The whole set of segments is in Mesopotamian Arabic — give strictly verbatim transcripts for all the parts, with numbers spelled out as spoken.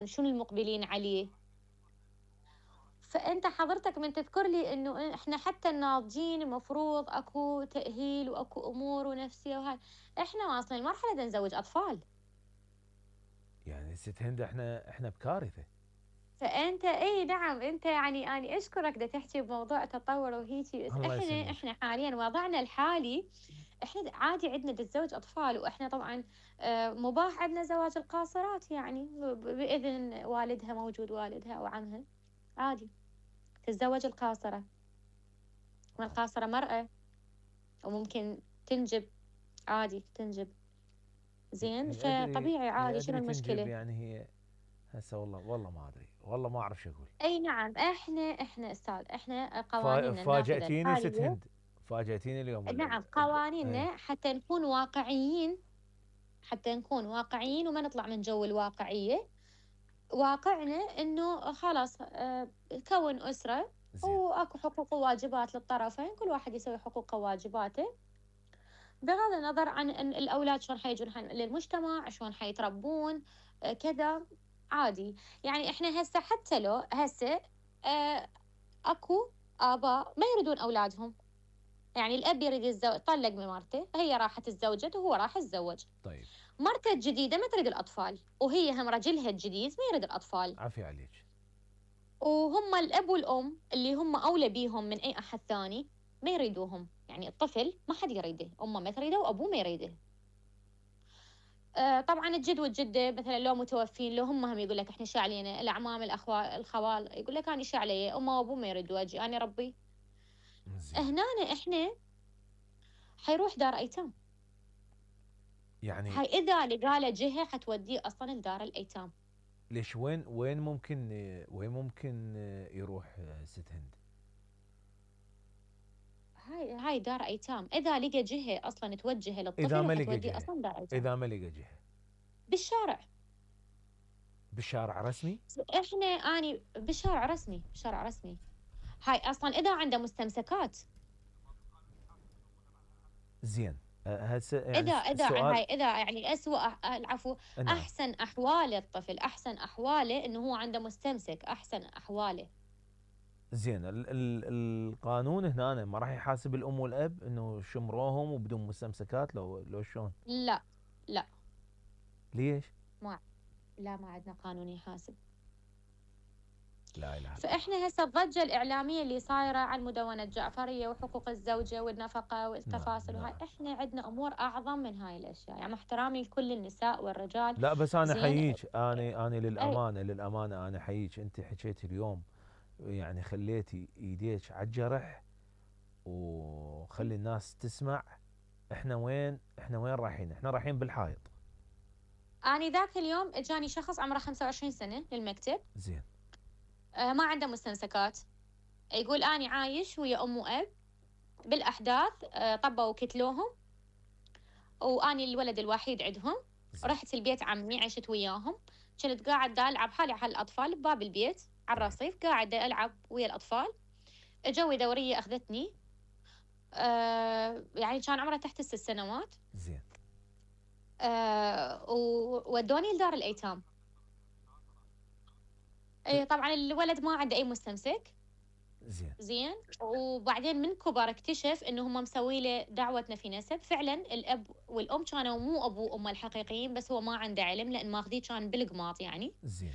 شنو المقبلين عليه. فأنت حضرتك من تذكر لي إنه إحنا حتى الناضجين المفروض أكو تأهيل وأكو أمور ونفسية وهاي، إحنا واصلين لمرحلة بدنا نزوج أطفال. يعني ست هند احنا احنا بكارثة. فأنت إي نعم، أنت يعني أني أشكرك دا تحكي بموضوع تطور وهيجي، بس الله إحنا يسلمك. إحنا حاليًا وضعنا الحالي إحنا د عادي عندنا نتزوج أطفال، وإحنا طبعًا آآ مباح عندنا زواج القاصرات يعني ب ب بإذن والدها موجود والدها أو عمها، عادي تتزوج القاصرة، والقاصرة مرأة وممكن تنجب، عادي تنجب، هي زين، هي ادري فطبيعي هي عادي شنو ادري تنجب المشكلة؟ يعني هي. هسه والله والله ما ادري والله ما اعرف شو اقول. أي نعم، إحنا إحنا أستاذ إحنا فا- قوانيننا النافذة فاجأتيني ست الحالية. هند. فاجأتيني اليوم ال نعم، ال ال اي. قوانيننا حتى نكون واقعيين، حتى نكون واقعيين وما نطلع من جو الواقعية. واقعنا إنه خلاص آآ كوّن أسرة زين. وأكو حقوق وواجبات للطرفين، كل واحد يسوي حقوقه وواجباته، بغض النظر عن إن الأولاد شلون حيجون ح للمجتمع، شلون حيتربون، آآ كذا، عادي. يعني إحنا هسه حتى لو هسه آآ أكو آباء ما يريدون أولادهم، يعني الأب يريد يتزو طلّق من مرته، هي راحت اتزوجت وهو راح اتزوج. طيب. مرته الجديدة ما تريد الأطفال، وهي هم رجلها الجديد ما يريد الأطفال، عافية عليك. وهم الأب والأم اللي هم أولى بيهم من أي أحد ثاني ما يريدوهم، يعني الطفل ما حد يريده، أمه ما تريده وأبوه ما يريده. آآ طبعًا الجد والجدة مثلًا لو متوفين، لو هم هم يقول لك إحنا شو علينا، الأعمام، الأخوا الخوال، يقول لك أنا شو علي، أمه وأبوه ما يريدوا أجي أنا أربي. زين. هنا إحنا حيروح دار أيتام، يعني هاي إذا لقى له جهة حتوديه أصلًا لدار الأيتام. ليش وين وين ممكن وين ممكن يروح ست هند؟ هاي هاي دار أيتام، إذا لقى جهة أصلًا توجهه اذا للطفل ما لقى حتوديه جهة. أصلًا دار أيتام. اذا ما لقى جهة. بالشارع. بالشارع رسمي. إحنا أني بالشارع رسمي، بالشارع رسمي. هاي أصلًا إذا عنده مستمسكات، زين. أه، هسه يعني إذا الس- إذا ع السؤال. هاي إذا يعني أسوأ أح العفو، نعم. أحسن أحوال الطفل، أحسن أحواله إنه هو عنده مستمسك، أحسن أحواله. زين ال ال القانون هنا ما راح يحاسب الام والاب انه شمروهم وبدون مستمسكات لو لو شلون؟ لأ، لأ، ليش؟ ما لا ما عندنا قانون يحاسب. لا اله الا الله. فإحنا هسه الضجة الإعلامية اللي صايرة عن مدونة جعفرية وحقوق الزوجة والنفقة نعم والتفاصيل وهاي، نعم. إحنا عندنا أمور أعظم من هاي الأشياء، يعني مع احترامي لكل النساء والرجال. لا بس انا زين. احييك. انا انا أي للامانه للامانه انا احييك. انت حكيتي اليوم يعني خليتي ايديك على الجرح وخلي الناس تسمع. احنا وين احنا وين رايحين؟ احنا رايحين بالحائط. أنا ذاك اليوم إجاني شخص عمره خمسة وعشرين سنة للمكتب، زين. آه ما عنده مستمسكات، يقول أني عايش ويا أم وأب بالأحداث، آه طبوا وكتلوهم، وأني الولد الوحيد عندهم. زين. رحت البيت عمي عشت وياهم، كنت قاعدة ألعب حالي على الأطفال بباب البيت على طيب. الرصيف، قاعدة ألعب ويا الأطفال. جوي دورية أخذتني، آه يعني كان عمره تحت الست سنوات، زين. آه وودوني لدار الأيتام. ت- إيه طبعًا الولد ما عنده أي مستمسك. زين. زين، وبعدين من كبر اكتشف إنه هم مسوي له دعوة نفي نسب، فعلًا الأب والأم كانوا مو أبوه وأمه الحقيقيين، بس هو ما عنده علم لأن ماخذيه كان بالقماط يعني. زين.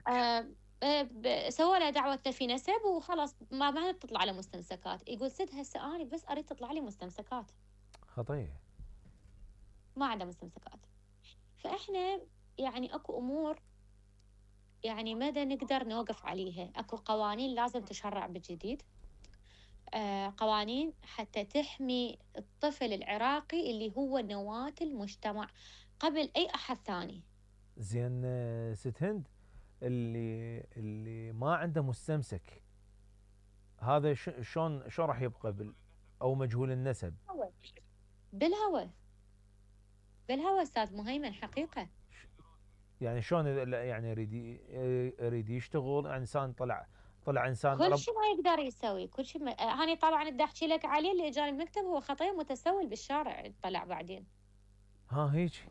آآ آآ ب سووا له دعوة نفي نسب وخلاص ما ما تطلع له مستمسكات، يقول سد هسه أنا بس أريد تطلع لي مستمسكات، خطيه. ما عنده مستمسكات. فإحنا يعني أكو أمور يعني ما دا نقدر نوقف عليها، أكو قوانين لازم تشرع بالجديد، آآ قوانين حتى تحمي الطفل العراقي اللي هو نواة المجتمع قبل أي أحد ثاني. زين آه، ست هند. اللي اللي ما عنده مستمسك هذا ش- شلون شلون راح يبقى بال او مجهول النسب؟ هو بالهوى، بالهوى أستاذ مهيمن حقيقة. ش- يعني شلون إذا- لا، يعني يريد ي- يريد يشتغل يعني انسان طلع طلع انسان كل رب. شي ما يقدر يسوي، كل شي ما آآ هاني طبعًا بدي أحكي لك عليه اللي إجاني المكتب، هو خطير متسول بالشارع طلع بعدين، ها هيك.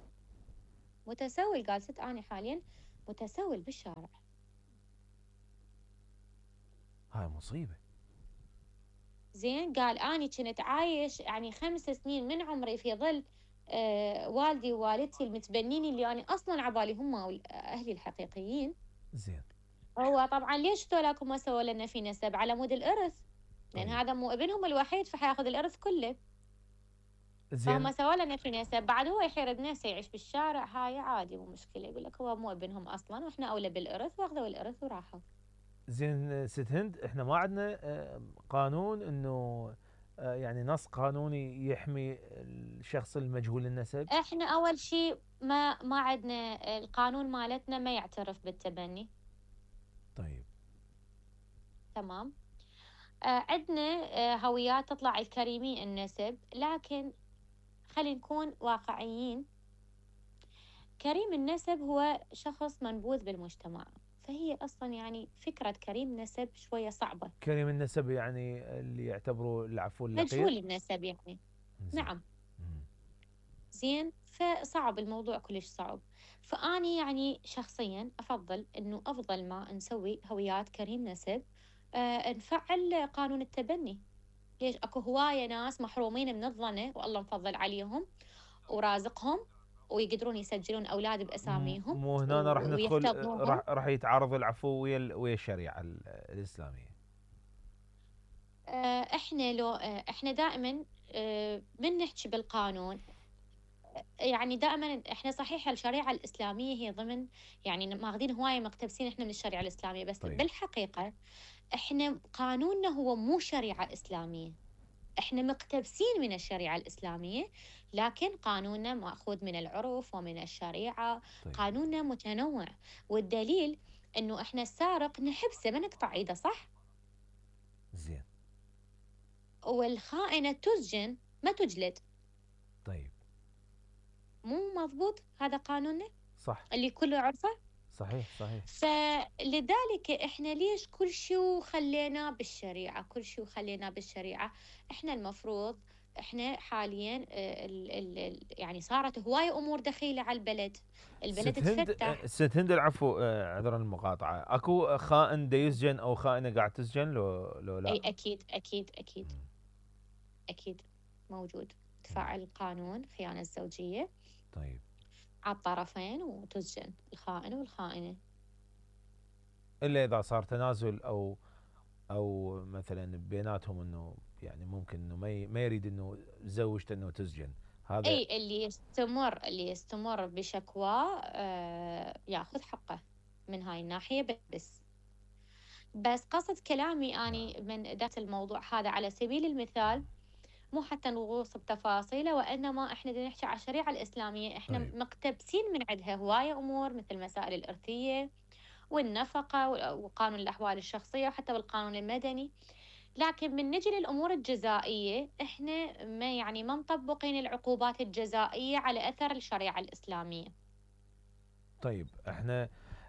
متسول قال ست أنا حاليًا متسول بالشارع. هاي مصيبة. زين، قال أني كنت عايش يعني خمس سنين من عمري في ظل آه والدي ووالدتي المتبنين اللي أنا أصلا عبالي هم أهلي الحقيقيين. زين. هو طبعا ليش ذولاك ما سووا لنا في نسب على مود الإرث؟ لأن طيب. هذا مو ابنهم الوحيد فحياخذ الإرث كله. فهم زين. سووا لنا في نسب، بعد هو يحير بنفسه يعيش بالشارع، هاي عادي مو مشكلة. يقول لك هو مو ابنهم أصلا وإحنا أولى بالإرث، وأخذوا الإرث وراحوا. زين ست هند، احنا ما عندنا آه، قانون انه آه، يعني نص قانوني يحمي الشخص المجهول النسب؟ إحنا أول شيء ما ما عندنا القانون مالتنا ما يعترف بالتبني. طيب. تمام. آه عندنا آه هويات تطلع الكريمي النسب، لكن خلينا نكون واقعيين. كريم النسب هو شخص منبوذ بالمجتمع، فهي أصلا يعني فكرة كريم نسب شوية صعبة. كريم النسب يعني اللي يعتبروا العفو اللقيط. مجهول النسب يعني. زين. نعم. مم. زين، فصعب الموضوع كلش صعب. فأني يعني شخصيا أفضل أنه أفضل ما نسوي هويات كريم نسب آه نفعل قانون التبني. ليش اكو هواية ناس محرومين من الظنة والله مفضل عليهم ورازقهم ويقدرون يسجلون أولاد م- بأساميهم مو هنا راح و- ندخل، آه، ويحتضنونهم. راح راح يتعارض العفو ويا ال- ويا الشريعة ال- الإسلامية. آه، احنا لو آه، احنا دائما آه، من نحكي بالقانون، يعني دائما احنا صحيح الشريعة الإسلامية هي ضمن، يعني ماخذين هواية مقتبسين احنا من الشريعة الإسلامية، بس طيب. بالحقيقة احنا قانوننا هو مو شريعة إسلامية. احنا مقتبسين من الشريعة الإسلامية، لكن قانوننا مأخوذ من العرف ومن الشريعة. طيب. قانوننا متنوع، والدليل انه احنا السارق نحبسه ما نقطع ايده، صح؟ زين. والخائنة تسجن ما تجلد. طيب. مو مضبوط هذا قانوننا صح. اللي كله عرفه؟ صحيح صحيح. فلذلك احنا ليش كل شيء خليناه بالشريعة، كل شيء خليناه بالشريعة. احنا المفروض احنا حاليا آه، ال ال ال يعني صارت هواية امور دخيلة على البلد، البلد ست هند، تفتح. ست هند العفو، آه، عذرا المقاطعة، اكو خائن دا يسجن او خائنة قاعد تسجن لو لو لا؟ اي اكيد اكيد اكيد مم. اكيد موجود. مم. تفعل القانون خيانة الزوجية طيب. على الطرفين وتسجن الخائن والخائنة. الا اذا صار تنازل او او مثلا بيناتهم انه يعني ممكن انه ما ي- ما يريد انه زوجته انه تسجن، هذا. اي اللي يستمر اللي يستمر بشكواه آه ياخذ حقه من هاي الناحية. بس بس قصد كلامي نعم. أني من ذات الموضوع هذا على سبيل المثال، مو حتى نغوص بتفاصيله، وإنما إحنا بدنا نحكي على الشريعة الإسلامية. إحنا طيب. مقتبسين من عندها هواية أمور مثل مسائل الإرثية والنفقة وقانون الأحوال الشخصية وحتى بالقانون المدني. لكن من نجي للأمور الجزائية إحنا ما يعني ما مطبقين العقوبات الجزائية على أثر الشريعة الإسلامية. طيب احنا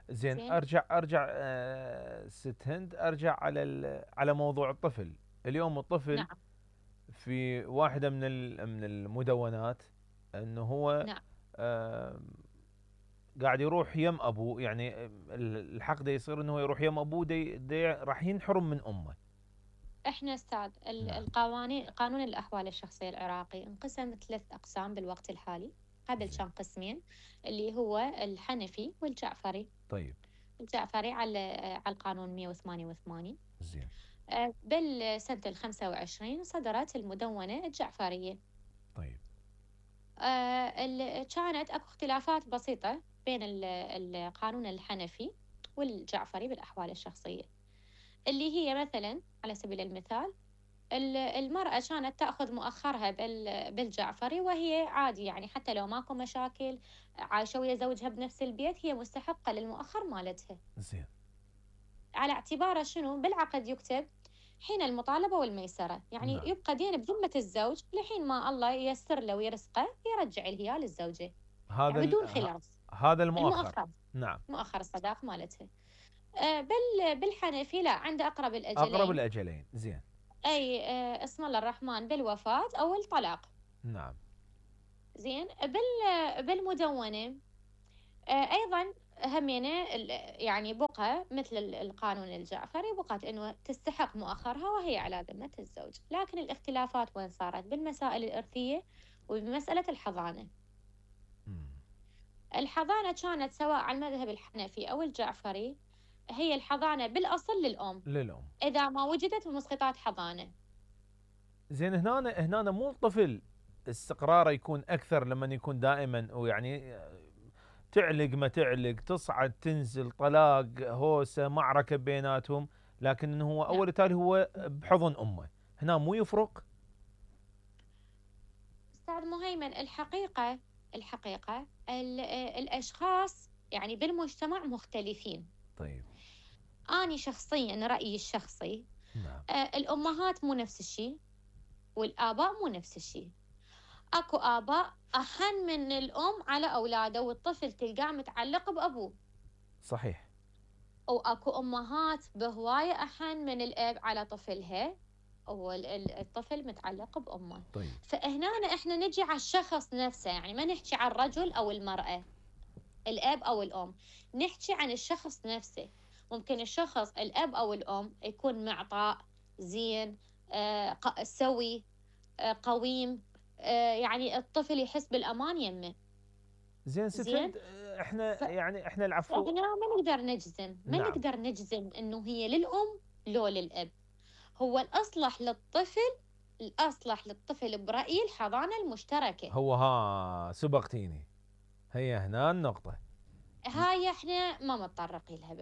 زين، زين. ارجع ارجع آه ست هند، ارجع على ال- على موضوع الطفل. اليوم الطفل نعم. في واحدة من ال- من المدونات انه هو نعم. آه قاعد يروح يم ابوه، يعني ال- الحق ده يصير انه هو يروح يم ابوه، دي دي راح ينحرم من امه. احنا استاذ ال- نعم. القوانين قانون الاحوال الشخصيه العراقي انقسم ثلاث اقسام بالوقت الحالي. قبل زين. كان قسمين اللي هو الحنفي والجعفري. طيب. الجعفري على على القانون مئة وثمانية وثمانين. زين. آه، بالسنه الخمسة وعشرين صدرت المدونه الجعفريه. طيب. آه، ال- كانت اكو اختلافات بسيطه بين ال- القانون الحنفي والجعفري بالاحوال الشخصيه، اللي هي مثلا على سبيل المثال ال- المرأة كانت تأخذ مؤخرها بال- بالجعفري، وهي عادي يعني حتى لو ماكو مشاكل عايشة ويا زوجها بنفس البيت هي مستحقة للمؤخر مالتها. زين. على اعتباره شنو بالعقد يكتب حين المطالبة والميسرة، يعني نعم. يبقى دين بذمة الزوج لحين ما الله ييسر له ويرزقه يرجع الهيال للزوجة، هذا يعني ال- بدون ه- خلاف. هذا المؤخر. المؤخر، نعم. مؤخر الصداق مالتها. آه، بال بالحنفي لا، عند أقرب اقرب الأجلين. الاجلين. زين. أي آه، اسم الله الرحمن بالوفاة أو الطلاق. نعم. زين. بال بالمدونة آه، أيضا همينة ال- يعني بقى مثل ال- القانون الجعفري بقت إنه تستحق مؤخرها وهي على ذمة الزوج، لكن الاختلافات وين صارت؟ بالمسائل الإرثية وبمسألة الحضانة. مم. الحضانة كانت سواء على المذهب الحنفي أو الجعفري، هي الحضانة بالأصل للأم، للأم. إذا ما وجدت مسقطات حضانة. زين هنا هنا مو الطفل استقراره يكون اكثر لما يكون دائما ويعني تعلق ما تعلق تصعد تنزل طلاق هوسه معركه بيناتهم، لكن انه هو نعم. اول تالي هو بحضن امه، هنا مو يفرق؟ أستاذ مهيمن، الحقيقة الحقيقة ال- الأشخاص يعني بالمجتمع مختلفين. طيب. أنا شخصيا رأيي الشخصي، نعم. آه، الأمهات مو نفس الشيء والآباء مو نفس الشيء. أكو آباء أحن من الأم على أولاده والطفل تلقاه متعلق بأبوه، صحيح. وأكو أمهات بهواية أحن من الأب على طفلها والطفل متعلق بأمه. طيب. فهنا إحنا نجي على الشخص نفسه، يعني ما نحكي عن الرجل أو المرأة، الأب أو الأم، نحكي عن الشخص نفسه. ممكن الشخص الأب أو الأم يكون معطاء زين، آه، ق- سوي، آه، قويم، آه، يعني الطفل يحس بالأمان يمه. زين ست زين. هند، احنا يعني احنا العفو. فهنا ما نقدر نجزم ما نعم. نقدر نجزم إنه هي للأم لو للأب. هو الأصلح للطفل الأصلح للطفل برأيي الحضانة المشتركة. هو ها سبقتيني، هي هنا النقطة. هاي احنا ما متطرقين لها.